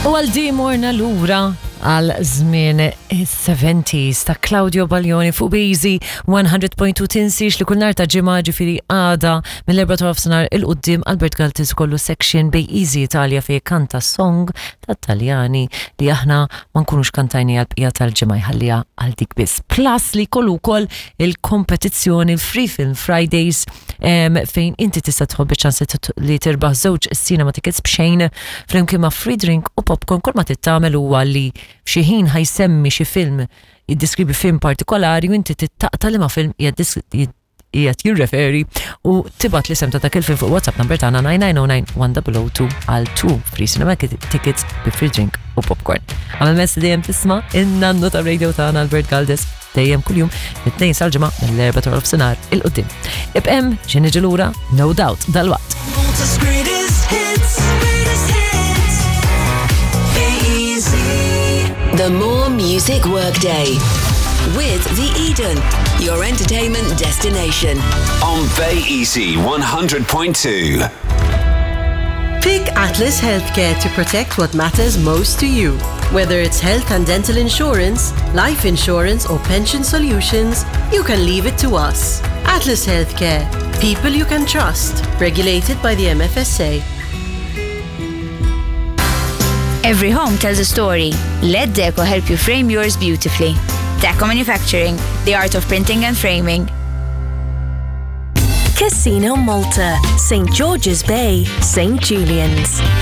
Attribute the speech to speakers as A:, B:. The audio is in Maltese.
A: U għal di morna lura għal żmien is-70s ta' Claudio Baglioni fuq Beezy 100.2 tinsiex li kull nhar ta' ġimgħa ġifieri għada mill-4 ta' nofsinhar 'il quddiem Albert Galtis kollu section Bay Easy Italia fejn kanta song ta' Taljani li aħna ma nkunux kantajni għal bqija tal-ġimgħa jħalliha għal dik biss. Plus li jkollu wkoll il-kompetizzjoni il-Free Film Fridays fejn inti tista' tħobbi ċans li tirbaħ żewġ cinema tickets b'xejn flimkien ma' free drink u popcorn kull ma tittamel huwa li f'xi ħin ħajsemmi xi film jiddeskrivi film partikolari u inti tittaqta li ma' film qiegħed jirreferi u tibgħat l-isem ta' dak il-film fuq WhatsApp number tagħna 9909 1002 għal 2 free cinema tickets bi free drink u popcorn. Għamel mess li dejjem tisma' in-nannu ta' radio tagħna Albert Galdes dejjem kuljum mit-tnejn sal-ġimgħa mill-erba' ta' nofsinhar 'il quddiem. Ibqem xi niġi lura no doubt dalwaqt.
B: Malta's greatest hits, greatest hits. Be easy.
C: The More Music Workday with The Eden, your entertainment destination.
D: On Bay Easy 100.2.
E: Pick Atlas Healthcare to protect what matters most to you. Whether it's health and dental insurance, life insurance, or pension solutions, you can leave it to us. Atlas Healthcare, people you can trust, regulated by the MFSA.
F: Every home tells a story. Let Deco help you frame yours beautifully. Deco Manufacturing, the art of printing and framing.
G: Casino Malta, St. George's Bay, St. Julian's.